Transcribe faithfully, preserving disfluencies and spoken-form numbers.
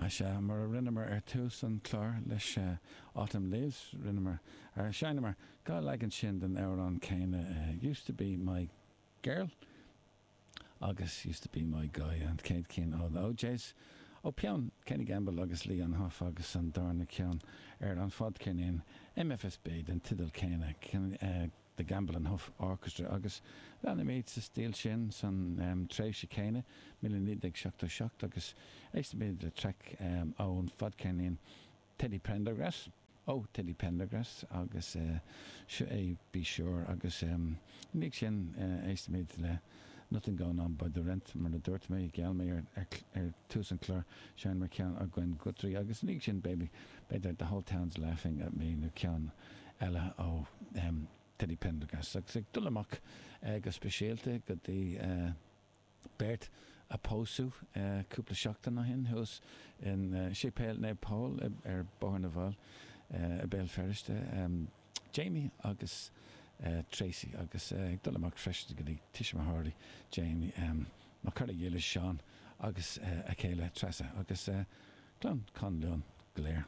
Sea, mar a rinneamar ar tús an chláir leis Autumn Leaves, rinneamar, ar sheinneamar dhá leagan sin den amhrán céanna, Used to Be My Girl agus Used to Be My Guy, an chéad cinn ó The O'Jays, ó peann Kenny Gamble agus Leon Huff agus an darna ceann ar an fadcheirnín M F S B den teideal céanna, The Gamble and Huff Orchestra. Agus leanfaimid sa stíl sin san tréimhse céanna, míle naoi déag seachtó seacht, agus éistfimid le traic ón fadcheirnín Teddy Pendergrass, ó Teddy Pendergrass, agus seo é Be Sure. Agus ina dhiaidh sin éistfimid le Nothing Going On by The Rent. Mar a dúirt mé, gheall mé ar ar tús an chláir, seinnfear ceann ó Gwen Guthrie agus ina dhiaidh sin baby b'fhéidir The Whole Town's Laughing at Me nó ceann eile ó Teddy Pendergrass. Agus ag dul amach go speisialta go dtí beirt a pósadh cúpla seachtain ó shin thuas in Séipéal Naomh Pól ar Bhóthar na bhFál i Béal Feirste, Jamie agus Tracy, agus ag dul amach freisin go dtí tuismitheoirí Jamie, mo chara dílis Seán agus a chéile Treasa agus clann Conluain go léir.